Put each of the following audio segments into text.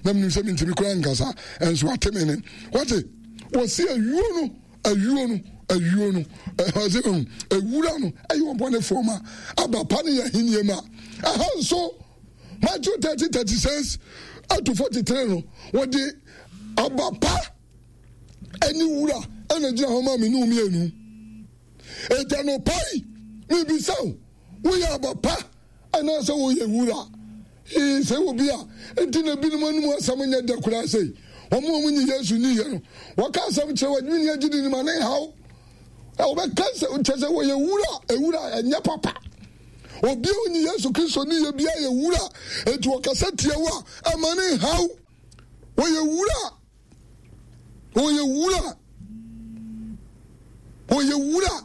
Na menim sɛ mentumi koraa nkasa, ɛnso ate me ne. Wate, wɔsi ayuo no, ayuo no, ayuo no, ɔsɛ ɛhu, ewura no ɛyɛ ɔbɔnefoɔ ma, aba pa no yɛ ahennie ma. Ɛha nso, Matthew 30, 36 to 43 no, wɔde aba pa ɛne wura ɛna gyina hɔ ma me ne mmienu. Enti anɔpa yi, mebisa wo, woyɛ aba pa anaasɛ woyɛ wura? Ee, sɛ obi a enti na ebinom anom asɛm nyɛ dɛ koraa sei. Wɔn a wɔnyi Yesu nniiɛ no, wɔka asɛm kyerɛ wɔn, adwene agyidi no ma ne nhaw. Wɔbɛka sɛ kyɛ sɛ wɔyɛ wura, ewura ɛnyɛ papa. Obi a ɔnyi Yesu Kristo nniiɛ biara yɛ wura, enti wɔkasa tia wo a, ɛma ne nhaw. Wɔyɛ wura. Wɔyɛ wura. Wɔyɛ wura.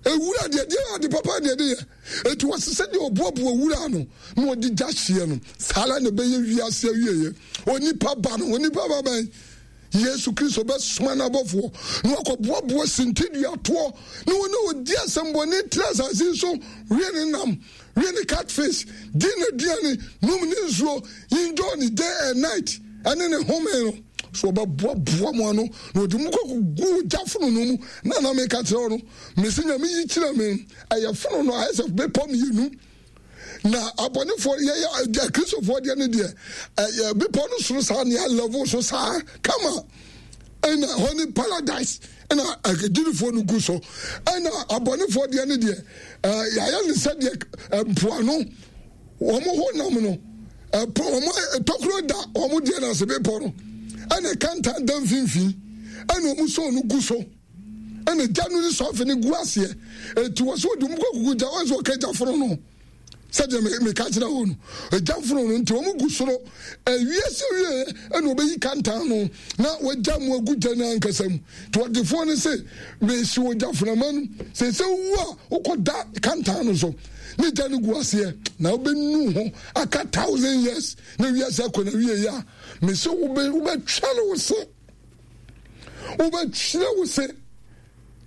Ewura deɛ deɛ ade papa deɛ de yɛ. Eti wɔsi sɛ deɛ ɔboaboa wura ano na ɔde gya hyeɛ no, saa ara na ɛbɛyɛ wiase awieɛ. Onipa ba no, onipa ba bɛn? Yesu Kristo bɛsoma n'abɔfoɔ na wakɔboaboa sintiduatoɔ ne wɔn a wɔdi asɛmbɔne tena asase so we ne nam. We ne catfish, di n'aduane, nom ne nsuo, enjoy ne day and night, ɛne ne home no. So ɔbɛboaboa mo ano na ɔde mo kɔ gu ogya fononoo mu. Na na meka kyerɛ wo no, mese Nyame yi kyerɛ me, ɛyɛ fononoo ayɛ sɛ bepɔ mmienu. Na abɔnefoɔ yɛyɛ akristofoɔ deɛ ne deɛ ɛyɛ bepɔ no soro saa nea level so saa kama ɛna hɔ ne paradise ɛna agyinifoɔ no gu so ɛna abɔnefoɔ deɛ ne deɛ ɛɛ yɛayɛ ne sɛdeɛ mpoano wɔn ho nam no ɛpo wɔn tokuro da wɔn deɛ no ase bepɔ no ɛna kantan da mfimfini ɛna wɔn sɔɔ no gu so ɛna gya no ne sɔfe no gu aseɛ eti wɔ so wɔde wɔn kɔ kuku gya wɔn nso wɔka gya foro no. Sɛdeɛ meka kyerɛ wo no, egya fononoo nti wɔn gu soro. Ewiase wie ɛna ɔbɛyi kantan no na wagya mu agu gya no ankasa mu. Nti ɔdefoɔ no se, mesi ogya fonama no, sɛ sɛ wowu a wokɔ da kantan no so ne gya no gu aseɛ na wobɛnu ho aka thousand years na wiase akɔ na wie a, mese wobɛtwɛre wo se. Wobɛtwerɛ wo se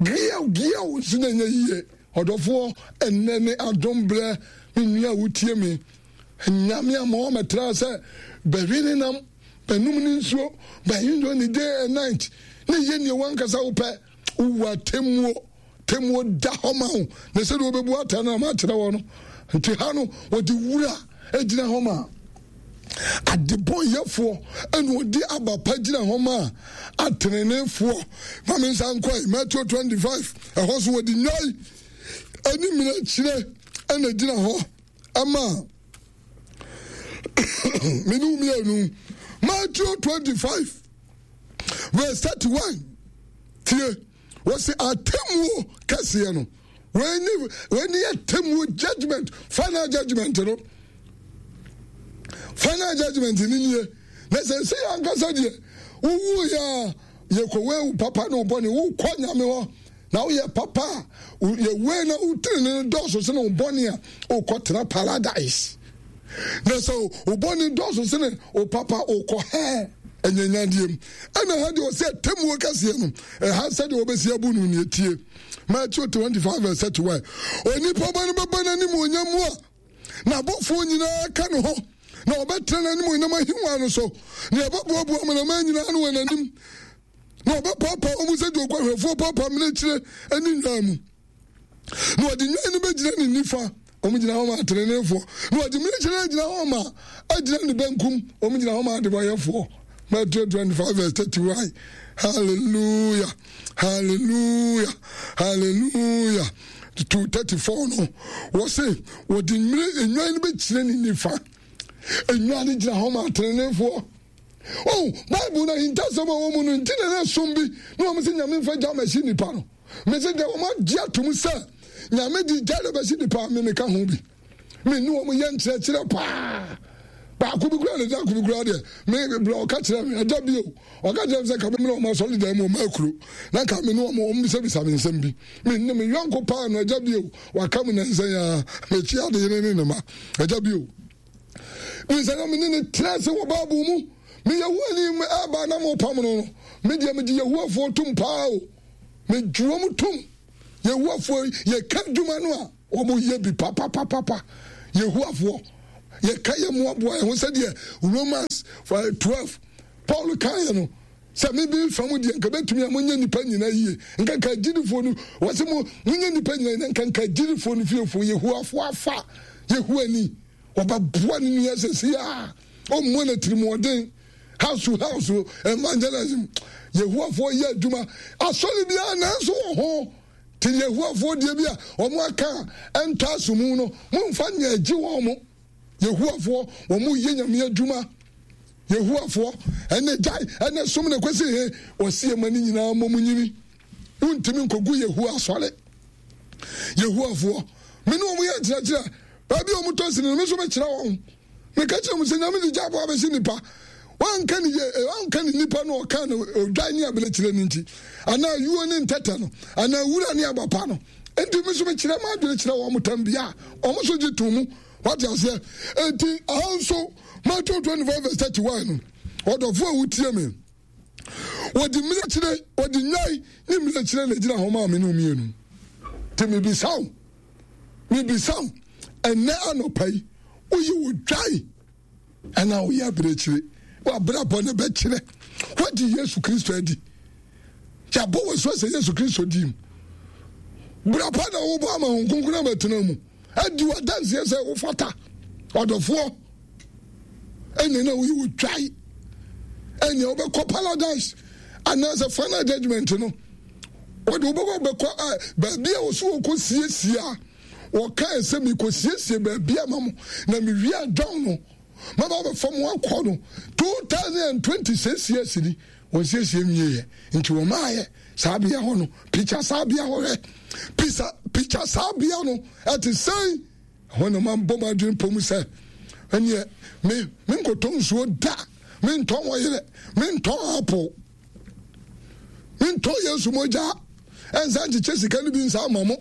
giaw giaw nso na ɛnyɛ yie. Ɔdɔfoɔ, ɛnnɛ ne adom berɛ, me nua a wotie me. Nyame ama wɔmɛtra sɛ bɛwe ne nam, bɛnom ne nsuo, bɛenjoy ne day and night, ne yɛ nea wankasa wopɛ. Wowu atemmuo, temmuo da hɔ ma wo, na sɛdeɛ wɔbɛbu atɛn no na makyerɛ wɔ no. Nti ha no, wɔde wura gyina hɔ ma adebɔnyɛfoɔ, ɛna ɔde aba pa gyina hɔ ma ateneneefoɔ. Ma me nsa nkɔe, Matthew 25, ɛhɔ so wɔde nnwan ɛne mmirekyire ɛna gyina hɔ ɛma mene mmienu. Matthew 25 verse 31, tie, wɔsi atemmuo kɛseɛ no, wei ne wei ne atemmuo judgment, final judgment no, final judgment ni nie. Na sɛ sɛ yɛn ankasa deɛ wowu yɛ a yɛkɔ wei wo papa ne wo bɔne wokɔ nyame hɔ na woyɛ papa a yɛwei na wotiri ne dɔɔso sene wo bɔne a wokɔ tena paradise. Na sɛ wo bɔne dɔɔso sene wo papa wokɔ hɛɛ anyanyadeɛ mu. Ɛna ha deɛ ɔsɛ atemmuo kɛseɛ no, ɛha sɛdeɛ wɔbɛsi abu no neɛ tie. Matthew 25 verse 31. Onipa ba no bɛba n'animuonyam mu a n'abɔfoɔ nyinaa ka ne ho, na ɔbɛtena n'animuonyam ahengua no so, na yɛbɛboaboa amanaman nyinaa ano wɔ n'anim, na ɔbɛpaapaa wɔn mu sɛ deɛ oguahwɛfoɔ paapaa mmirekyire ne nnwan mu. Na ɔde nnwan no bɛgyina ne nifa, wɔn gyina hɔ ma ateneneefoɔ, na ɔde mmirekyire no agyina hɔ ma agyina ne benkum, wɔn gyina hɔ ma adebɔyɛfoɔ. Matthew 25 verse 31. Hallelujah, hallelujah, hallelujah. 234 no, wɔse wɔde mmire nnwan no bɛgyina ne nifa. Nnwan no gyina hɔ ma ateneneefoɔ. Oh, Bible no ahintasɛm a ɛwɔ mu no nti na na ɛsom bi na wɔn sɛ Nyame mfa gya mɛhye nipa no. Mese deɛ wɔn agye atom sɛ Nyame de gya na bɛhye nipa a, me meka ho bi. Me ne wɔn yɛ nkyerɛkyerɛ paa. Baako bi kura ne da ko bi kura deɛ, me brɛ ɔka kyerɛ me, ɛda bio, ɔka kyerɛ me sɛ nka me mmerɛ wɔn asɔre dan mu wɔn akuro, na nka me ne wɔn wɔn bisabisa me nsɛm bi. Me ne me yɔnko paa no, ɛgya bio, waka mu nansa yi ara, mekyi ade yere ne ne ma, ɛgya bio. Mesɛ na me ne no tena ase wɔ Bible mu. Me Yehowa ni ɛba na mo pam no no. Me deɛ megye Yehowafoɔ tom paa o. Megye wɔn tom. Yehowafoɔ yɛka adwuma no a wɔn yɛ bi papapapapa. Yehowafoɔ. Yɛka yɛ mmoaboa yɛn ho sɛdeɛ Romans 12 Paul kaeɛ no sɛ me bi fa mu deɛ nka bɛtumi a monyɛ nnipa nyina yie nka nka agyidifoɔ no wɔse mo monyɛ nnipa nyina yie nka nka agyidifoɔ no fiefoɔ Yehowafoɔ afa Yehowa wɔbɛboa ne nua sɛsi a ɔmmɔ no atirimuɔden house to house evangelism Yehowafoɔ yɛ adwuma asɔre biara nanso wɔ ho te Yehowafoɔ deɛ bi a wɔn aka a ɛntɔ asomu no momfa nyɛ agye wɔn mo Yehowafoɔ wɔn yɛ nyame adwuma Yehowafoɔ ɛnɛ gyae ɛnɛ som na kwasi he wɔsi ɛma ne nyinaa mmɔ mu nyini wontumi nkɔgu Yehowa asɔre Yehowafoɔ me ne wɔn yɛ nkyerɛkyerɛ baabi a wɔn tɔ sini no me nso mekyerɛ wɔn meka kyerɛ wɔn sɛ nyame de gya aboa bɛsi nipa wanka ne yɛ eh, wanka ne nipa no ɔka no odwan ne abirekyerɛ no nti anaa yuo ne ntɛtɛ no anaa wura ne abapa no nti me nso mekyerɛ m'adwene kyerɛ wɔn tam bia wɔn nso gye to mu wate aseɛ enti aha nso Matthew 25 verse 31 no ɔdɔfo a wotie me wɔde mmirekyire wɔde nnwan ne mmirekyire na egyina hɔ maa me ne mmienu te mebisa wo mebisa wo ɛnɛ anɔpa yi woyɛ odwan anaa woyɛ abirekyire wabrabɔ no bɛkyerɛ woagye yesu kristo adi yɛabɔ wɔ so sɛ yesu kristo di mu bra pa na wobɔ ama ho nkonkron abɛtena mu adi wadanseɛ sɛ wofata ɔdɔfoɔ ɛnna na woyɛ wotwae ɛnna wobɛkɔ paradise anaasɛ final judgment no wɔde wobɛkɔ bɛkɔ baabi a wɔso wɔkɔ siesie a wɔkae sɛ mekɔsiesie baabi ama mo na mewie adwan no maba bɛfa mo akɔ no 2026 years ni wɔnsiesie nwieɛ nti wɔmaayɛ saa bea hɔ no pikya saa bea hɔ hwɛ pisa pikya saa bea no ɛte sɛn Ɛhɔ na mabɔ m'adwene pɔ mu sɛ, ɛneɛ me menkɔtɔ nsuo da, mentɔn ɔyerɛ, mentɔn apple, mentɔn Yesu mogya, ɛnsa nkyekyɛ sika no bi nsa ama mo,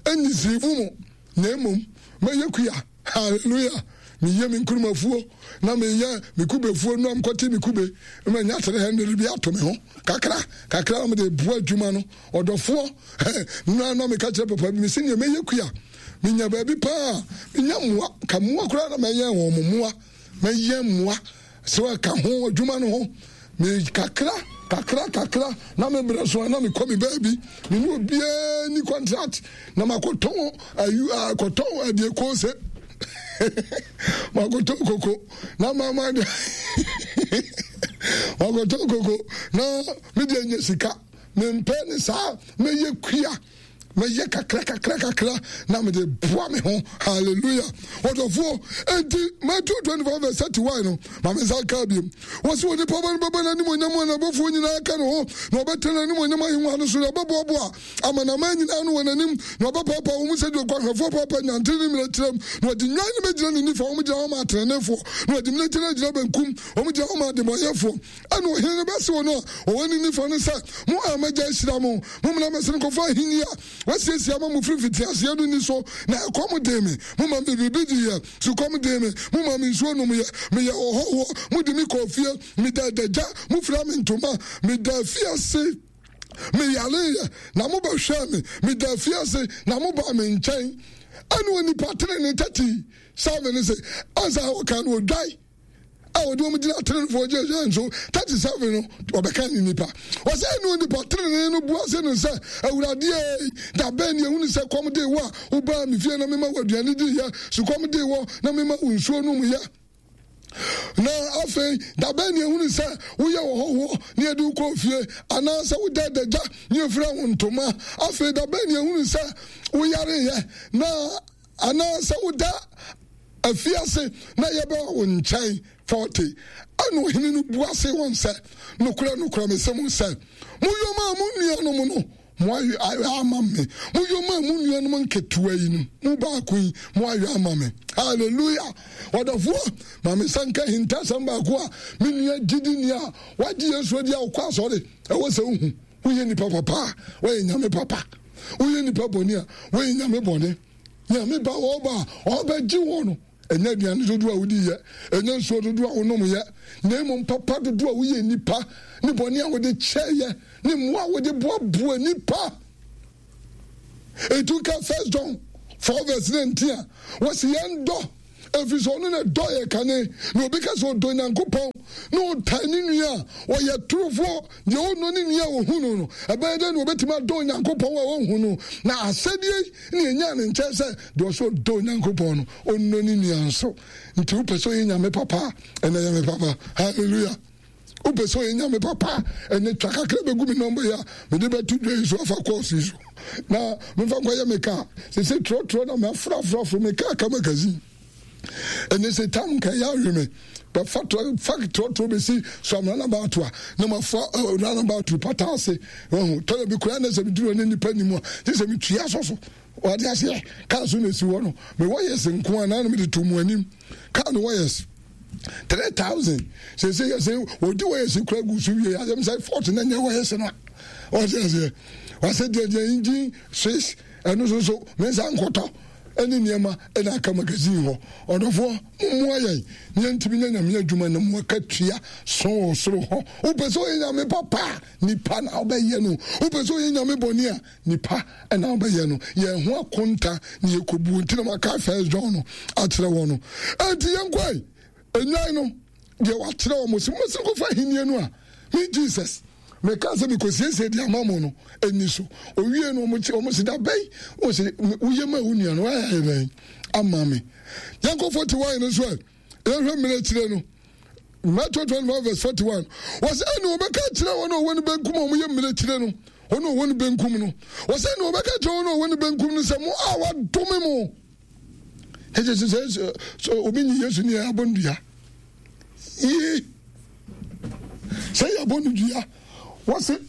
ɛnni siribu mo, na mmom mɛyɛ kua. Hallelujah! Meyɛ me nkurumafuo na meyɛ me kubefuo no amkɔte me kube na manya 300 bi ato me ho kakra kakra na mede boa adwuma no. Ɔdɔfoɔ, na na meka kyerɛ papa bi, mese neɛ mɛyɛ kua Menya baabi paa a, menya mmoa. Ka mmoa koraa na mɛyɛn wɔn mmoa. Mɛyɛn mmoa sɛ ɛka ho adwuma no ho. Me kakra kakra kakra na me brɛ so a na mekɔ me baabi. Me ne obiara ni contract na makɔtɔn ayu akɔtɔn adeɛ koose. makɔtɔn koko na mama de makɔtɔn koko na me deɛ nya sika. Mempɛ ne saa mɛyɛ kua. Mɛyɛ kakra kakra kakra na mede boa me ho. Hallelujah. Ɔdɔfoɔ, enti Matthew 25 verse 31 no, ma me nsa nka biom. Wɔsi onipa ba no bɛba n'animuonyam a n'abɔfoɔ nyinaa ka ne ho, na ɔbɛtena n'animuonyam ahengua no so, na ɔbɛboaboa amanaman nyinaa ano wɔ n'anim, na ɔbɛpaapaa wɔn mu sɛdeɛ oguanhwɛfoɔ paapaa nnwanten ne mmirekyerɛm, na ɔde nnwan no bɛgyina ne nifa, wɔn gyina hɔ ma ateneneefoɔ, na ɔde mmirekyerɛ no agyina benkum, wɔn gyina hɔ ma adebɔnyɛfoɔ. Ɛnna ɔhene no bɛse wɔn a wɔwɔ ne nifa no sɛ, Mo a m'agya ahyira mo, mommra mmɛsen nkɔfa ahenni a wɔasiesie ama mo firi mfitiaseɛ no nni so. Na ɛkɔm dee me, momaa me biribi diiɛ, sukɔm dee me, momaa me nsuo nomeɛ, meyɛɛ ɔhɔhoɔ, mode me kɔɔ fie, medaa adagya, mofiraa me ntoma, medaa afiase, meyareeɛ, na mobɛhwɛɛ me, medaa afiase, na mobaa me nkyɛn. Ɛnna onipa tenenee 37 no se, ansa ɔka no ɔdwae. a wɔde wɔn gyina tenenefoɔ gyinagyina nso 37 no wɔbɛka ne nipa wɔsɛ ɛne onipa tenene no bua se no sɛ awurade ei da bɛn ne ehunu sɛ kɔm de wo a wobaa me fie na mema wo aduane diiɛ sukɔm de wɔ na mema wo nsuo nom yɛ na afei da bɛn ne ehunu sɛ woyɛ ɔhɔhoɔ ne yɛde wo kɔɔ fie anaasɛ woda adagya ne yɛfira wo ntoma afei da bɛn ne ehunu sɛ woyareyɛ na Anaasɛ woda afiase na yɛbɛba wo nkyɛn? 40 ɛnna ɔhene no bua see wɔn sɛ, Nokorɛ, nokorɛ, mese mo sɛ, moyɔ maa mo nuanom no, moayɔ ama me. Moyɔ maa mo nuanom nketewa yi no mu baako yi, moayɔ ama me. Hallelujah! Ɔdɔfoɔ, ma me nsa nka ahintasɛm baako a me nua gyidini a wagye Yesu adi a ɔkɔ asɔre, ɛwɔ sɛ wohu. Woyɛ nipa papa a, woayɛ Nyame papa. Woyɛ nipa bɔne a, woayɛ Nyame bɔne. Nyame ba ɔba a ɔbɛgye wɔ no, ɛnyɛ aduane dodoɔ a wodi yɛ, ɛnyɛ nsuo dodoɔ a wonom yɛ, na mmom papa dodoɔ a woyɛ nipa, ne bɔne a wode kyɛ yɛ, ne mmoa a wode boaboa nipa. Etu ka First John 4 verse 19 a, wɔsi yɛn dɔ. Ɛfiri sɛ ɔno na ɛdɔ yɛ kane. Na obi ka sɛ ɔdɔ Nyankopɔn na ɔtan ne nua a, ɔyɛ torofoɔ. Deɛ ɔnnɔ ne nua a ɔhu no no, ɛbɛyɛ dɛn na ɔbɛtumi adɔ Onyankopɔn a ɔnhu no? Na asɛdeɛ yi na yɛnyaa ne nkyɛn sɛ, deɛ ɔsɛ ɔdɔ Onyankopɔn no, ɔnnɔ ne nua nso. Nti wopɛ sɛ ɔyɛ Nyame papa a, ɛnɛ yɛ me papa. Hallelujah. Wopɛ sɛ ɔyɛ Nyame papa a, ɛnɛ twa kakra bɛgu me nɔmba yi a mede bɛto dwa yi so afa kɔɔso yi so na memfa nkɔyɛ me kaa. Sese trɔtrɔ na mafrafrafro me kaa ka magazine. Ɛnɛ sɛ tam nka ɛyɛ awe me bɛfa fa trɔtrɔ bɛsi so am runabout a na mafa eh, runabout pata ase wahu tɔlɛ bi koraa na sɛ meduru ne nnipa nim a gye sɛ metua sɔ so wade aseɛ kaa so na ɛsi hɔ no mewɔ yɛs nko a na na mede to mu anim kaa no wɔyɛs 3000 sɛsɛ yɛ sɛ wɔdi wɔyɛs kora gu so wie asɛm sɛ fort na nyɛ wɔyɛs no a wɔde aseɛ wɔasɛ deɛ deɛ engine swiss ɛno so so mensa nkɔtɔ ne nneɛma na aka magazine hɔ. Ɔdɔfoɔ, mommoa yɛn na yɛntumi nyɛ Nyame adwuma na mo akatua so wɔ soro hɔ. Wopɛ sɛ ɔyɛ Nyame papa a, nipa na wobɛyɛ no. Wopɛ sɛ ɔyɛ Nyame bɔne a, nipa na wobɛyɛ no. Yɛn ho akonta na yɛkɔbuo nti na maka First John no akyerɛ wɔn no. Enti yɛnkɔe, nnwan no. Deɛ wakyerɛ wɔn sɛ mosi nkɔfa ahennie no a me Jesus meka sɛ mekɔsiesie de ama mo no ɛni so. Owie no wɔn si da bɛn wɔn si woyɛ ma wo nua no wayɛ ayɛ bɛn ama me. Yɛnkɔ 41 no so ɛ yɛhwɛ mmerɛ akyire no. Matthew 25 verse 41 wɔsɛ ɛne wɔbɛka kyerɛ wɔn a wɔwɔ ne benkum a wɔyɛ mmerɛ akyire no wɔn a wɔwɔ ne benkum no wɔsɛ ɛne wɔbɛka kyerɛ wɔn a wɔwɔ ne benkum no sɛ mo a wɔadome mo. Ɛkyɛ sɛ sɛ sɛ obi nyi Yesu ni abɔ no dua. Yie. Sɛ yɛ abɔ no dua. Wɔse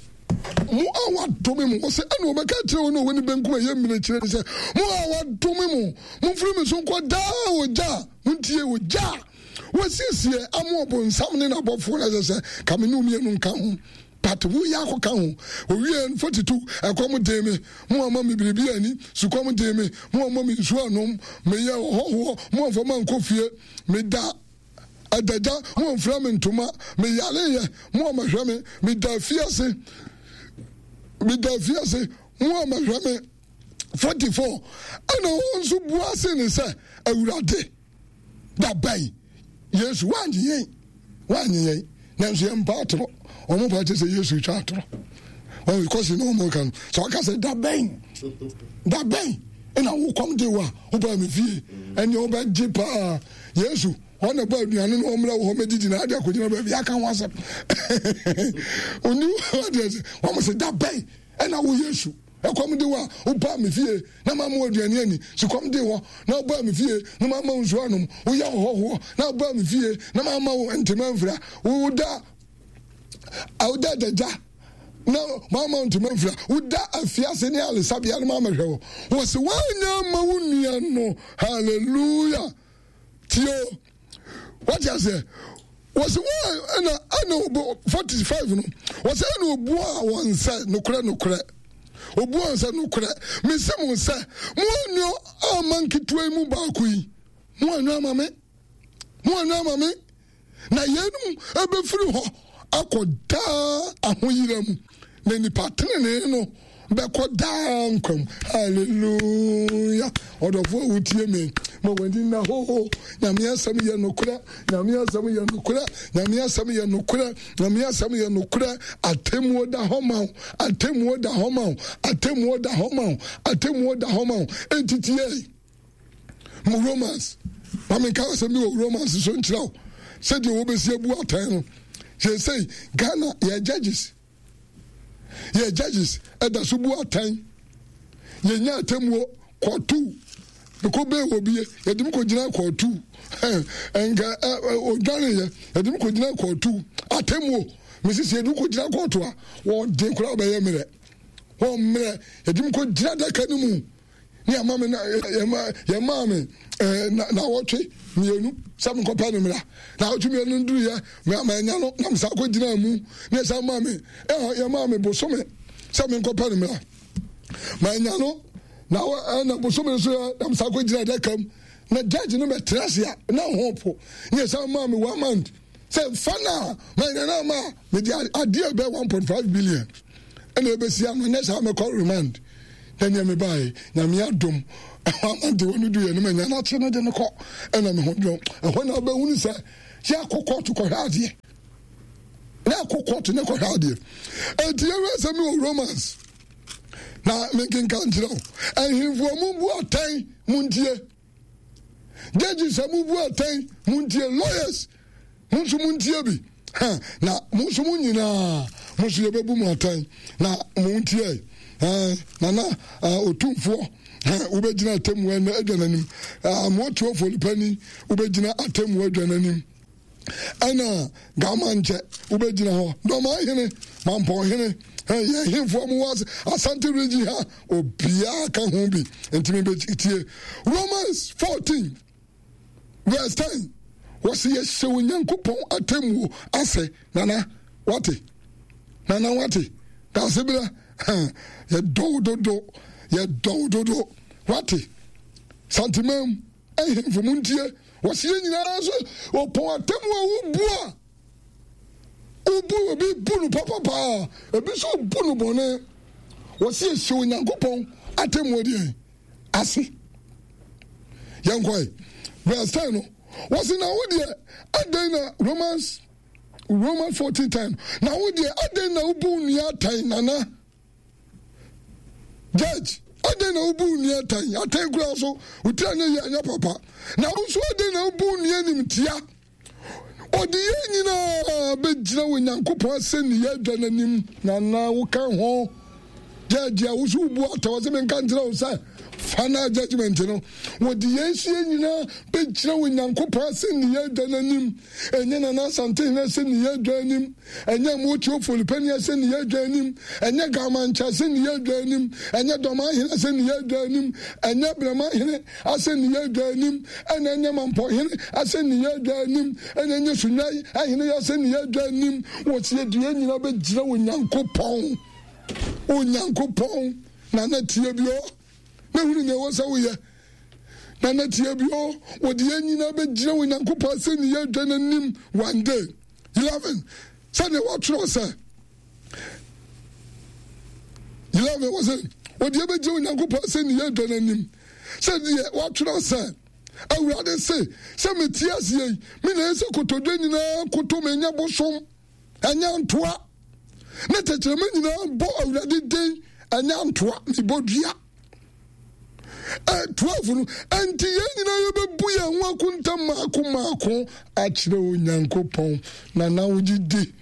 mo a wɔadome mo. Wɔse ɛna wɔbɛka kyerɛ wɔn a wɔn benkum a ɛyɛ mmiri kyerɛ ne sɛ mo a wɔadome mo. Momfiri me so nkɔ daa ogya. Montie ogya. Wɔasiesie ama ɔbonsam ne n'abɔfoɔ no ɛsɛ sɛ ka me ne mmienu nka ho. But wo yɛ akɔka ho. Owiee no, 42, ɛkɔm dee me, mo amma me biribi anni, sukɔm dee me, mo amma me nsuo annom, meyɛɛ ɔhɔhoɔ, mo amfa me ankɔ fie, meda adagya, mo amfira me ntoma, meyareeɛ, mo ammɛhwɛ me, meda afiase, meda afiase, mo ammɛhwɛ me. 44, ɛna wɔn nso bua se ne sɛ, Awurade, Da bɛn? Yesu wannye yɛn, wannye yɛn, nanso yɛn mpa atorɔ. Wɔn pa kyerɛ sɛ Yesu twa atorɔ. Wɔn kɔsi na wɔn ka no. Sɛ ɔka sɛ da bɛn, da bɛn ɛna wokɔm de wo a wobaa me fie, ɛnneɛ wobɛgye paa. Yesu wɔn na bɔ aduane na wɔn mmerɛ wɔ hɔ mɛdidi na ade akɔgyina baabi aka ho asɛm. Oni wɔn sɛ wɔn sɛ da bɛn ɛna wo Yesu. Ɛkɔm de wo a, wobaa me fie na mamma wo aduane anni. Sukɔm dee wo na wobaa me fie na mamma wo nsuo anom. Woyɛ ɔhɔhoɔ na wobaa me fie na mamma wo ntoma amfira. Woda woda adagya na mamma wo ntoma amfira. Woda afiase ne alesabea no mammɛhwɛ wo. Wɔse woanyɛ amma wo nua no. Hallelujah. Tie o. Wate aseɛ? Wɔsi wɔn ɛna ɛna obu 45 no. Wɔsi ɛna obua wɔn sɛ nokorɛ nokorɛ. Obua wɔn sɛ nokorɛ. Mesi mo sɛ mo anyo ama nketewa yi mu baako yi. Mo anyo ama me. Mo anyo ama me. Na yeinom bɛfiri hɔ akɔ daa ahoyera mu, na nnipa tenenee no bɛkɔ daa nkwa mu. Hallelujah! Ɔdɔfo a wotie me, ma w'ani nna hɔ. Nyame asɛm yɛ nokorɛ. Nyame asɛm yɛ nokorɛ. Nyame asɛm yɛ nokorɛ. Nyame asɛm yɛ nokorɛ. Atemmuo da hɔ ma wo. Atemmuo da hɔ ma wo. Atemmuo da hɔ ma wo. Atemmuo da hɔ ma wo. Enti tie. Mo Romans, ma menka asɛm bi wɔ Romans so nkyerɛ wo sɛdeɛ wɔbɛsi abu atɛn no. Seesei Ghana yɛ judges, yɛ judges ɛda so bu atɛn. Yɛnya atemmuo kɔɔto mekɔ bɛɛ wɔ bie yɛde me kɔgyina kɔɔto nka odwaneyɛ yɛde me kɔgyina kɔɔto atemmuo mesisi yɛde me kɔgyina kɔɔto a wɔde koraa bɛyɛ mmerɛ wɔn mmerɛ yɛde me kɔgyina adaka no mu ne ama me na yɛma yɛmaa me ɛɛ na nawɔtwe mmienu sɛ menkɔpɛ no mmra nawɔtwe mmienu no duruyɛ me ama anya no na mesan kɔ gyina mu ne yɛsan maa me ɛhɔ yɛmaa me bosome sɛ menkɔpɛ no mmra ma anya no na ɛna bosome nso yɛ na mesan kɔ gyina adaka mu na judge no bɛtena ase a na ho po ne yɛsan maa me one month sɛ fa no a ma anya no ama a mede adeɛ bɛ 1.5 billion ɛna ɛbɛsi ano nyɛ saa mɛkɔ remand na nea mebaeɛ nyame adom. Ɛhɔ ama de wɔn du yɛ no ma nya n'akye no de no kɔ ɛna me ho dwom. Ɛhɔ na wobɛhunu sɛ yɛakɔ kɔɔto kɔhwɛ adeɛ. Na akɔ kɔɔto ne kɔhwɛ adeɛ. Enti yɛhwɛ sɛ mi wɔ Romans na menkenka nkyerɛ wo. Ahemfo a mubu atɛn muntie. Judges a mubu atɛn muntie. Lawyers mo nso montie bi. Ha, na mo nso mo nyinaa mo nso yɛbɛbu mo atɛn na montie. Nana otumfoɔ wobɛgyina atemmuo adwa n'anim. Amoatuofoɔ nipa ni wobɛgyina atemmuo adwa n'anim. Ɛna Gama nkyɛ wobɛgyina hɔ. Dɔm ahene, Mampɔn hene, yɛn hemfoɔ mo wɔ Asante region ha, obiara ka ho bi. Nti mebɛtie Romans 14 verse 10. Wɔsi yɛhyɛ Onyankopɔn atemmuo ase. Nana, wate? Nana, wate? Daase berɛ, yɛdɔ wo dodo, yɛdɔ wo dodo. Wate? Santemam. Ahemfo montie, wɔsi yɛn nyinaa so wɔpɔn atemmu a wobu a wobu obi bu no papa paa, ebi nso bu no bɔne. Wɔsi yɛhyɛ Onyankopɔn atemmu deɛ ase. Yɛnkɔe verse 10 no, wɔsi na wo deɛ adɛn na Romans Romans 14 10 na wo deɛ adɛn na wobu nua atɛn nana? Judge, adɛn na wobu nua atɛn? Atɛn kura so, wo tiri anyɛ yie anyɛ papa. Na wo nso adɛn na wobu nua animtia? Ɔde yɛn nyinaa bɛgyina wɔ Nyankopɔn asɛnniyɛ adwa no anim. Nana woka ho. Judge a wo so wobu atɛn, ɔsɛ menka nkyerɛ wo sɛ final judgment no, wɔde yɛn nso yɛn nyinaa bɛgyina wɔ Nyankopɔn asɛnniyɛ adwa no anim. Ɛnyɛ Nana Asantehene asɛnniyɛ adwa anim. Ɛnyɛ Mmotuo Folipani asɛnniyɛ adwa anim, ɛnyɛ Gamankyɛ asɛnniyɛ adwa anim, ɛnyɛ Dɔmahene asɛnniyɛ adwa anim, ɛnyɛ Brɛmahene asɛnniyɛ adwa anim, ɛna ɛnyɛ Mampɔhene asɛnniyɛ adwa anim, ɛna ɛnyɛ Sunyai ahene asɛnniyɛ adwa anim. Wɔsi yɛde yɛn nyinaa bɛgyina Onyankopɔn, Onyankopɔn, na na tie bi ɔ, na hunu nea ɛwɔ sɛ woyɛ. Na na tie bi ɔ, wɔde yɛn nyinaa bɛgyina Onyankopɔn asɛnniyɛ adwa no anim one day. 11 sɛdeɛ wɔatwerɛ sɛ 11 wɔ sɛ wɔde ɛbɛgyina Onyankopɔn sɛ ne yɛ dwa no anim sɛdeɛ wɔatwerɛ sɛ Awurade se sɛ mete aseɛ yi me na ɛsɛ kotodwe nyinaa koto me ɛnyɛ bosom ɛnyɛ ntoa ne tɛkyerɛma nyinaa bɔ Awurade din ɛnyɛ ntoa mebɔ dua 12 no, enti yɛn nyinaa yɛbɛbu yɛn ho akonta mmaako mmaako akyerɛ Onyankopɔn. Na na wogye di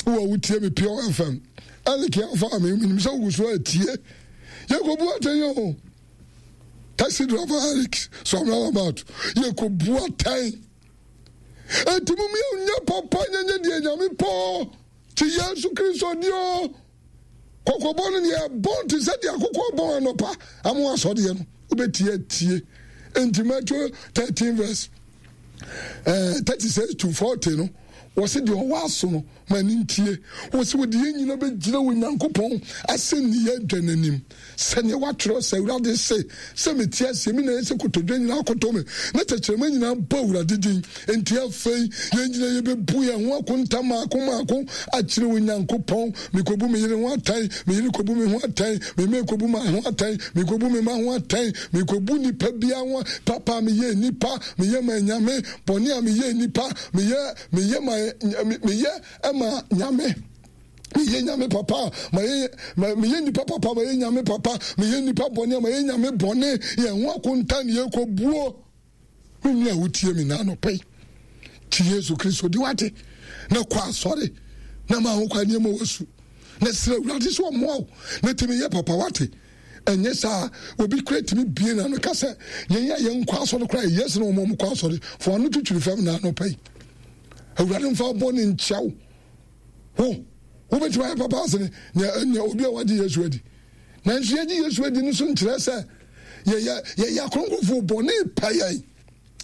wo a wotie me Pure FM. Eric afa me menim sɛ wogu so atie. Yɛkɔbu atɛn o. Taxi driver Eric so I'm not about. Yɛkɔbu atɛn. Enti mom yɛnyɛ papa nyɛnyɛ deɛ Nyame pɔ. Te Yesu Kristo di o. Kɔkɔbɔ no deɛ ɛbɔn te sɛ deɛ akokɔ bɔn anɔpa ama asɔdeɛ no wobɛtie atie. Nti Matthew 13 verse eh, 36 to 40 no wɔsi deɛ ɔwɔ aso no ma ne ntie. Wɔsi wɔde yɛn nyina bɛgyina wɔ Nyankopɔn asɛnniyɛ adwa n'anim. Sɛdeɛ wɔatwerɛ sɛ, Awurade se, sɛ mete aseɛ, me na ɛyɛ sɛ kotodwe nyinaa koto me, na tɛkyerɛma nyinaa bɔ Awurade din. Enti afei, yɛn nyinaa yɛbɛbu yɛn ho akonta mmaako mmaako akyerɛ Onyankopɔn. Mekɔbu me yere ho atɛn, me yere kɔbu me ho atɛn, me mma kɔbu me ho atɛn, mekɔbu me mma ho atɛn, mekɔbu nipa biara ho papa a meyɛ nipa, meyɛ ma Nyame, bɔne a meyɛ nipa, meyɛ meyɛ ma meyɛ ma Nyame. Meyɛ nyame papa a mayɛ meyɛ nipa papa mayɛ nyame papa meyɛ nipa bɔne a mayɛ nyame bɔne yɛn ho akonta ne yɛkɔ buo me nua a wotie me na anɔpa yi kyi Yesu Kristo di wate na kɔ asɔre na ma ho kwa nneɛma wasu na srɛ Awurade sɛ ɔmmoa wo na tumi yɛ papa wate ɛnyɛ saa obi kura tumi bie na no ka sɛ yɛn a yɛn kɔ asɔre kora yɛ sɛ wɔn a wɔn kɔ asɔre fo ano twitwiri fam na anɔpa yi Awurade mfa bɔ ne nkyɛw Wo, wobɛtumi ayɛ papa asene nea nea obi a wagye Yesu adi. Nanso yɛgye Yesu adi no so nkyerɛ sɛ yɛyɛ yɛyɛ akronkronfoɔ bɔne pɛ yɛn.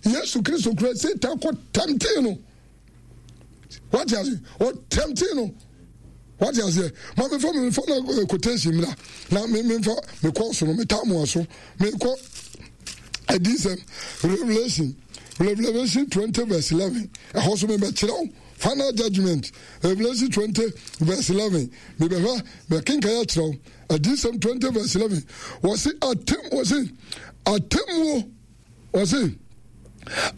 Yesu Kristo kura Satan kɔ tɛmtee no. Wate ase? Ɔtɛmtee no. Wate aseɛ? Ma mefa mefa na eh, quotation mmra na me memfa mekɔ so no metaa mo aso mekɔ adiyisɛm Revelation Revelation 20 verse 11 ɛhɔ so mebɛkyerɛ wo Final judgment, Revelation 20 verse 11. Mebɛhwɛ, bɛkenkan akyerɛ wo. Adiyisɛm 20 verse 11. Wɔse atem, wɔse. Atemmuo, ɔse,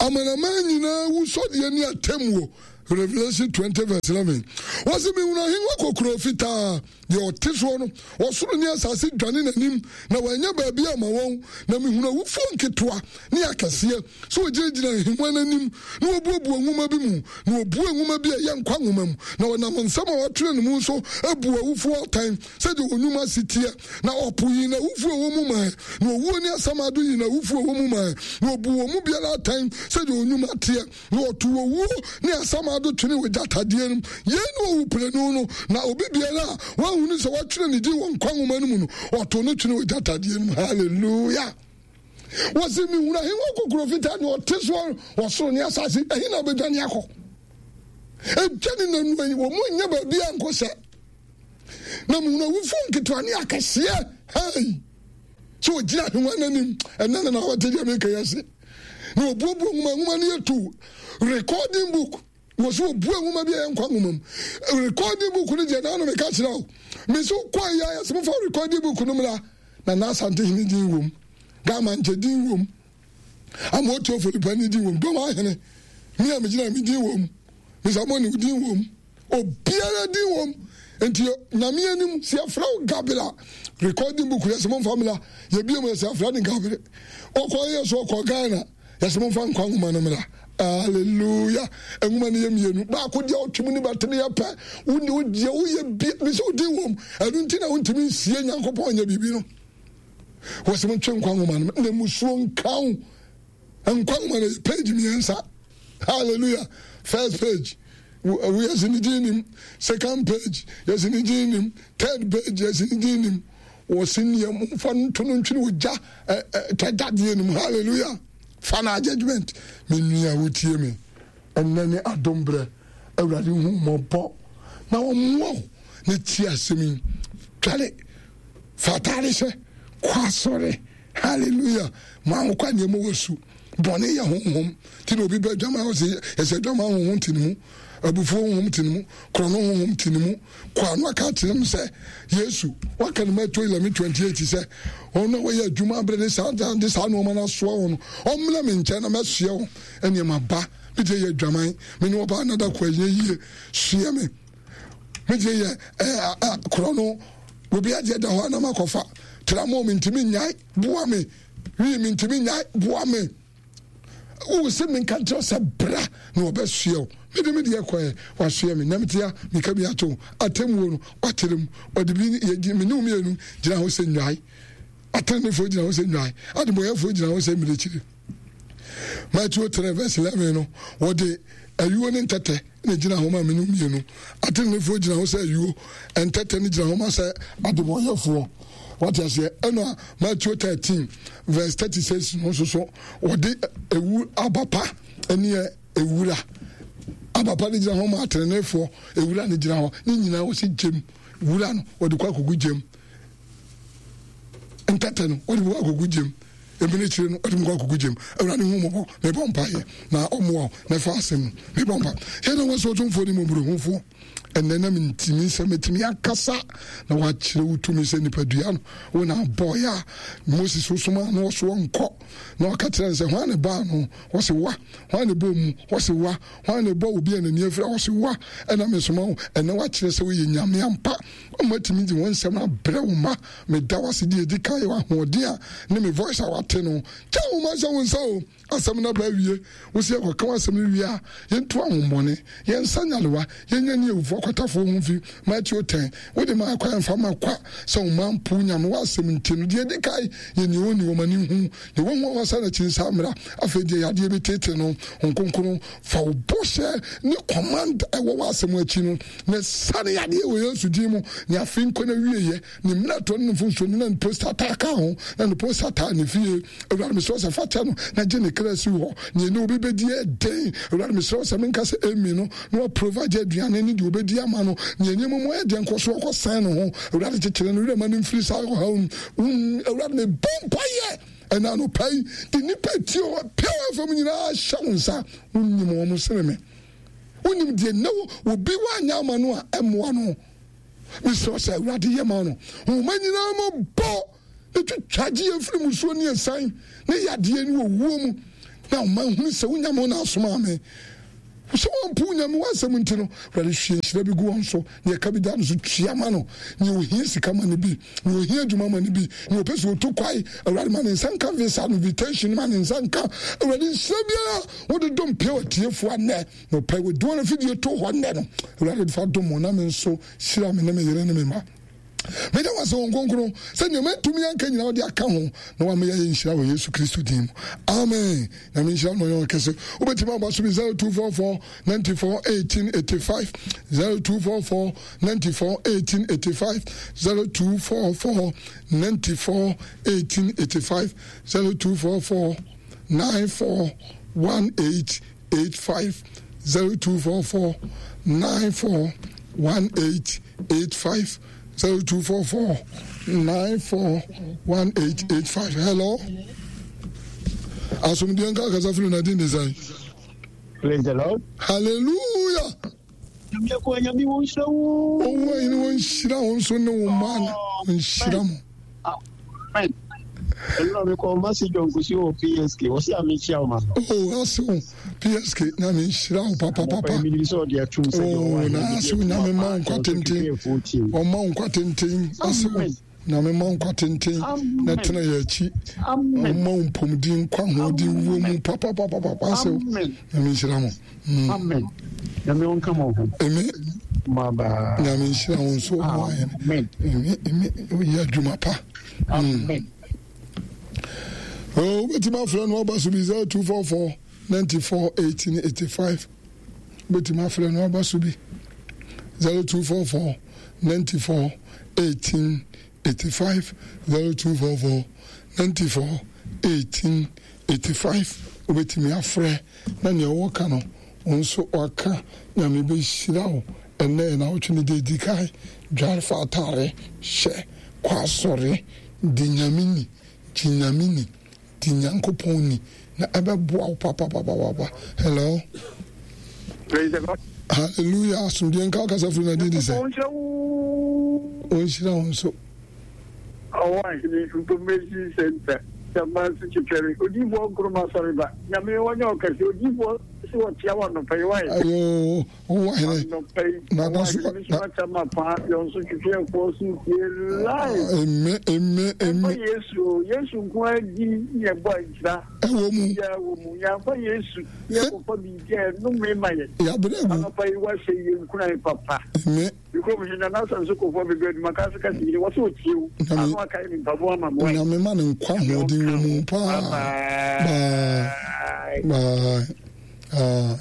amanaman nyinaa wusɔdeɛ ne atemmuo. Revelation 20 verse 11. Wɔse mehunu ahengua kokuroo fitaa, deɛ ɔte soɔ no, ɔsoro ne asase dwane n'anim, na wɔanya baabi ama wɔn. Na mehunu awufoɔ nketewa ne akɛseɛ sɛ wɔgyinagyina ahengua no anim, na wɔbuebue nwoma bi mu, na wɔbuee nwoma bi a ɛyɛ nkwa nwoma mu, na wɔnam nsɛm a wɔatwerɛ no mu nso buu awufoɔ atɛn sɛdeɛ wɔn nnwuma si teɛ. Na ɔpo yii n'awufoɔ a ɛwɔ mu mae, na owuo ne asamando yii n'awufoɔ a ɛwɔ mu mae, na wɔbuu wɔn mu biara atɛn sɛdeɛ wɔn nnwuma teɛ. Na wɔtoo owuo ne asamando twenee wɔ gyatadeɛ no mu. Yei ne owuprenu no, na obi biara a wɔanhunu sɛ wɔatwerɛ ne din wɔ nkwa nwoma no mu no, wɔtoo no twenee wɔ gyatadeɛ no mu. Hallelujah! Wɔsi mehunu ahengua kokoro fitaa ne ɔte soɔ wɔ soro ne asase, ɛhe na wobɛdwane akɔ? Ɛdwane nanu ayi, wɔn mu nyɛ baabi a nkɔ sɛ. Na mehunu awufoɔ nketewa ne akɛseɛ, hei, sɛ wɔgyina ahengua no anim, ɛnɛ na na wɔte deɛ meka yi ase. Na wɔbuebue nwoma, nwoma no yɛ tu, recording book. Wɔ so wɔbue nwoma bi a ɛyɛ nkwa nwoma mu. Recording book no deɛ na ano meka kyerɛ wo. Me nso kɔ yɛ ayɛ sɛ mofa recording book no mmra. Na na Asante hene din wom. Gama nkyɛ din wom. Amotuo Folipani din wom. Dɔm ahene. Me a megyina me din wom. Mr. Moni din wom. Obiara din wom. Nti nyame anim sɛ yɛfrɛ wo Gabriel recording book yɛ sɛ momfa mmra. Yɛbie mu yɛ sɛ yɛfrɛ no Gabriel. Ɔkɔ yɛ so ɔkɔ Ghana. Yɛsɛ momfa nkwa nwoma no mmra. Hallelujah. Nwoma no yɛ mmienu. Baako deɛ ɔtwe mu ne bɛtene yɛ pɛ. Wo ne wo deɛ woyɛ bi ne sɛ wodin wom. Ɛno nti na wontumi nsie Nyankopɔn nyɛ biribi no. Wɔsɛ montwe nkwa nwoma no na musuo nka wo. Nkwa nwoma no yɛ page mmiɛnsa. Hallelujah. First page yɛsi ne din nim. Second page yɛsi ne din nim. Third page yɛsi ne din nim. Wɔsi neɛ momfa nto no ntwene ogya twa dadeɛ no mu. Hallelujah. Final judgment. Me nua wotie me. Ɛnnɛ ne adom berɛ. Awurade hu mmɔbɔ na ɔmmoa wo na tie asɛm yi. Tware fa ataade hyɛ kɔ asɔre. Hallelujah. Ma wo kwa nneɛma wɔ su. Bɔne yɛ honhom. Ti na obi bɛ dwama ɔsɛ yɛsɛ dwama honhom te ne mu. Abufuo honhom te ne mu. Korɔno honhom te ne mu. Kɔ ano aka akyerɛ no sɛ Yesu waka no Matthew 11:28 sɛ wɔn a wɔyɛ adwuma abere ne saa de saa nneɛma no asoa wɔn no ɔmmra me nkyɛn na mɛsoɛ wɔn nneɛma ba. Me deɛ yɛ adwaman. Me ne ɔbaa nada kɔ ɛnyɛ yie. Soɛ me. Me deɛ yɛ ɛɛ korɔno. Obi adeɛ da hɔ a na makɔfa. Tramo mentumi nnyae. Boa me. Wii mentumi nnyae. Boa me. Wo se menka nkyerɛ sɛ bra na wɔbɛsoɛ wo. Mede me deɛ kɔɛ, wasoɛ me. Na mete a, meka bi ato wo. Atemmuo no, wakyerɛ mu. Ɔde bi yɛgye me ne wo mmienu gyina hɔ sɛ nnwae. Atenenefoɔ gyina hɔ sɛ nnwae. Adebɔyɛfoɔ gyina hɔ sɛ mmirekyiri. Matthew 3 verse 11 no, wɔde ayuo ne ntɛtɛ na gyina hɔ ma me no mmienu. Atenenefoɔ gyina hɔ sɛ ayuo, ntɛtɛ no gyina hɔ ma sɛ adebɔyɛfoɔ. Wate aseɛ? Ɛna Matthew 13 verse 36 no nso so wɔde ewu aba pa ne ewura. Aba pa no gyina hɔ ma atenenefoɔ, ewura no gyina hɔ. Ne nyinaa wɔsi gyem. Wura no wɔde kɔ akɔgu gyem. Ntɛtɛ no wɔde kɔ akɔgu gyem. Mmirekyire no wɔde kɔ akɔgu gyem. Awurade hu mmɔbɔ, mebɔ mpaeɛ na ɔmmoa wo na ɛfa asɛm no. Mebɔ mpa. Yɛn na wɔsɛ ɔtomfoɔ ne mmɔborɔhufoɔ. Ɛnnɛ na mentumi sɛ mɛtumi akasa na wakyerɛ wo tumi sɛ nipadua no wo na abɔeɛ a Moses wosomaa no ɔso ɔnkɔ na ɔka kyerɛ no sɛ hwan ne baa no ɔse wa hwan ne bɔ mu ɔse wa hwan ne bɔ obi a n'ani afira ɔse wa ɛna mesoma wo ɛnɛ wakyerɛ sɛ woyɛ nyame ampa ɔma tumi de wɔn nsɛm abrɛ wo ma meda wase deɛ ɛdi kan yɛ ahoɔden a ne me voice a wate no kyɛ wo ma hyɛ wo nsa o Asɛm no aba awie. Wo se yɛkɔka w'asɛm no wie a, yɛntu ahommɔne, yɛnsa nyarewa, yɛnyɛ ne awufo akwatafoɔ ho mfi. Mateo 10, Wode maa kwan mfa ma kwa sɛ wo mma mpo Nyame w'asɛm nti no, deɛ ɛdi kan yɛ nea ɔnni wɔn ani hu, deɛ wahu a wasan n'akyi nsa mmra. Afei deɛ yadeɛ bi tete no, Honhom Kronkron fa wo bɔhyɛ ne command ɛwɔ w'asɛm akyi no na sane yadeɛ wɔ Yesu din mu. Ne afe nkɔ n'awieɛ. Ne mmerɛtoɔ ne ne mfomsoɔ ne na ne posta taa ka ho, na ne posta taa ne fie. Awurade, mesrɛ wo sɛ fa kyɛ no na gye ne kra si hɔ. Nea ɛne obi bɛdi yɛ den. Awurade, mesrɛ wo sɛ menka sɛ amen no, na waprovide aduane ne deɛ ɔbɛdi ama no. Nea nneɛma mu ayɛ den kɔ so ɔkɔsɛn ne ho. Awurade, kyekyere no werɛ ma no mfiri saa ɔhaw no mu. Awurade, mebɔ mpaeɛ ɛna anɔpa yi de nnipa atie wɔ Pure FM nyinaa hyɛ wo nsa. Wonim wɔn sene me. Wonim deɛ nnɛ obi woanyɛ ama no a ɛmmoa no. Mesrɛ sɛ Awurade yɛ ma no. Nhoma nyinaa mu bɔ. Na twitwa gye yɛn firi musuo ne asiane ne yadeɛ ne owuo mu, na ɔma nhunu sɛ wo Nyame wo na asomaa me. Sɛ wɔmpo wo Nyame w'asɛm nti no, Awurade hwie nhyira bi gu wɔn so, nea ɛka bi da no so tua ma no, nea ohia sika ma no bi, nea ohia adwuma ma no bi, nea ɔpɛ sɛ otu kwae, Awurade ma ne nsa nka visa no, invitation ma ne nsa nka. Awurade nhyira biara wode dom pia w'atiefoɔ annɛ, na ɔpɛ wode wɔn afidie to hɔ nnɛ no, Awurade fa dom wɔn na me nso hyira me ne me yere ne me mma. Meda wo ase, Honhom Kronkron, sɛ nea mantumi anka nyinaa wode aka ho na wama yɛayɛ nhyira wɔ Yesu Kristo din mu. Amen. Nyame nhyira no ɔyɛ ɔkɛse. Wobɛtumi aba so bi 0244 94 18 85 0244 94 18 85 0244 94 18 85 0244 94 18 85 0244 94 18 85 0244 94 1885 hello asomdue nka akasa firi na din de sɛn. Praise the Lord. Hallelujah. Owó ayi ni wɔn nhyira wɔn nso ne wɔn mma na wɔn nhyira mo. Amen. Ɛnna mi kɔ ɔma si John Kusi wɔ PSK. Wɔsi a mi kyia ɔma no. Oh, ase o PSK na mi nhyira wo papapapa. Oh, na ase o nyame ma wo nkwa tenten. Ɔma wo nkwa tenten. Ase o nyame ma wo nkwa tenten. Na tena yɛ akyi. Ɔma wo mpɔmuden nkwa ahoɔden wuo mu papapapapa. Ase o nyame nhyira mo. Mm. Amen. Nyame ɔnka mo ho. Amen. Bye. Nyame nhyira wo nso. Amen. Amen. Amen. Oyɛ adwuma pa. Mm. Amen. Oh, wobɛtumi afrɛ no aba so bi 0244 94 18 85 wobɛtumi afrɛ no aba so bi 0244 94 18 85 0244 94 18 85 wobɛtumi afrɛ na nea ɔwɔ ka no wo nso waka. Nyame bɛhyira wo ɛnnɛ yɛ nawɔtwe no deɛ ɛdi kan. Dware fa ataare hyɛ kɔ asɔre di Nyame ni gye Nyame ni di Nyankopɔn ni na ɛbɛboa wo papapapapa. Hello. Praise the Lord. Hallelujah. Asomdwe nka kasa firi na din de sɛ. Ɔnhyira wo nso. Ɔwɔ ahene information center Kyamase Twetwɛre Odiyifoɔ Nkrumah Asɔreba Nyame ɔnyɛ ɔkɛse Odiyifoɔ se ɔkyea wo anɔpa yi wae Ayoo ɔwɔ ahene Anɔpa yi ɔwɔ ahene me so akyɛ ma paa yɔn so twetwɛfoɔ so tie live Amen amen amen Ɛmfa Yesu o Yesu nko ara din ne ɛbɔ nhyira Ɛwɔ mu Biara wɔ mu yɛamfa Yesu yɛkɔfa biribi a ɛnome ma yɛn Yɛabrɛ agu Anɔpa yi wahyɛ yɛn nkuran papa Amen. Me kurom he, Nana Asanso Kofoɔ bɛduru adwuma ka ase ka se yere, wɔ sɛ ɔtie wo, Nyame ano akae me mpaboa ama me wae. Nyame ma no nkwa Nyame ahoɔden ɔnka wɔ mu ho. paa. Bye Bye. bye. Bye. Aye.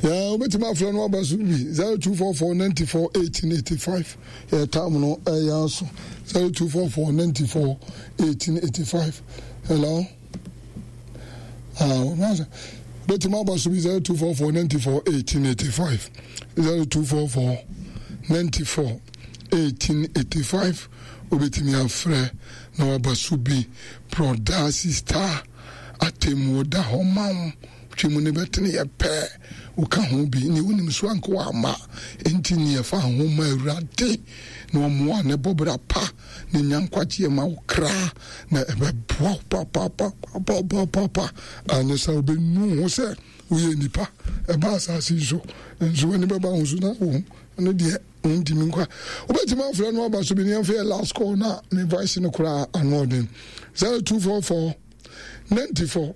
Yeah, wobɛtumi afrɛ no aba so bi 0244 94 1885 yɛ tam no ɛyɛ aso 0244 94 1885 hello Ah, bɛtumi aba so bi 0244 94 1885 0244 94 1885 wobɛtumi afrɛ na waba so bi brɔda sista atemmuo da hɔ ma wo twe mu ne bɛtene yɛ pɛ woka ho bi ne wonim so anka wama enti ne yɛfa ho ma awurade na ɔmmoa ne bɔbra pa na nya nkwagyeɛ ma wo kra na ɛbɛboa wo papapapapapapa anyɛ sɛ wobɛnu ho sɛ woyɛ nipa ɛba asase yi so nso w'ani bɛba ho so na wo ɛno deɛ wontimi nkwa wobɛtumi afrɛ no aba so bi ne yɛmfa yɛ last call na me voice no koraa ano ɔden 0244 94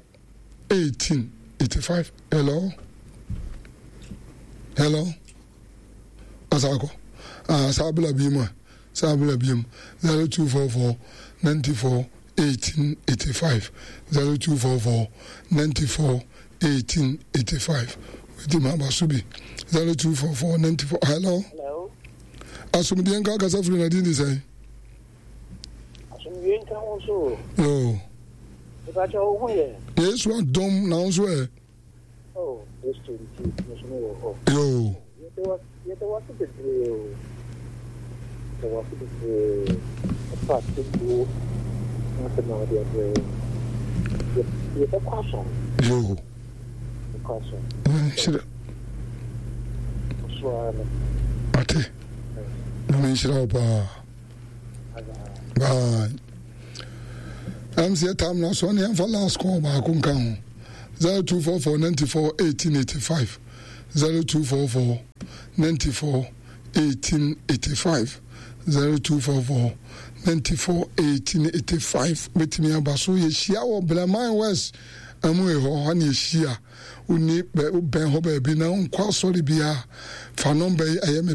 18 85 hello hello asakɔ ah, saa bla bi mu a San bra biom 0244 94 18 85 0244 94 18 85 Wetumi aba so bi 0244 94 Hello. Hello. Asomdue nka kasa firi na din de sɛn? Asomdue nka ho so. Yo. Nipa kyɛ wo ho yɛ. Yesu adom na wo nso ɛ. Oh, Kristo nti, me nso mewɔ hɔ. Yoo. Yɛda wo ase bebree o. Yɛda wo ase bebree ɛfa atemmuo ho asɛm a wode abrɛ yɛn. Yɛbɛkɔ asɔre. Yoo. Yɛbɛkɔ asɔre. Nhyira. Ɔso ara no. Ate. Na menhyira wo paa. Bye. Ɛm sɛ yɛtam na so ɔne yɛmfa last call baako nka ho. 0244 94 1885 0244 94 1885 0244 94 1885 bɛtumi aba so. Yɛhyia wɔ Brɛman West amu hɔ hɔ ne yɛhyia. Wonni bɛn hɔ baabi na wonkɔ asɔre biara, fa nɔmba yi ɛyɛ me pɛ.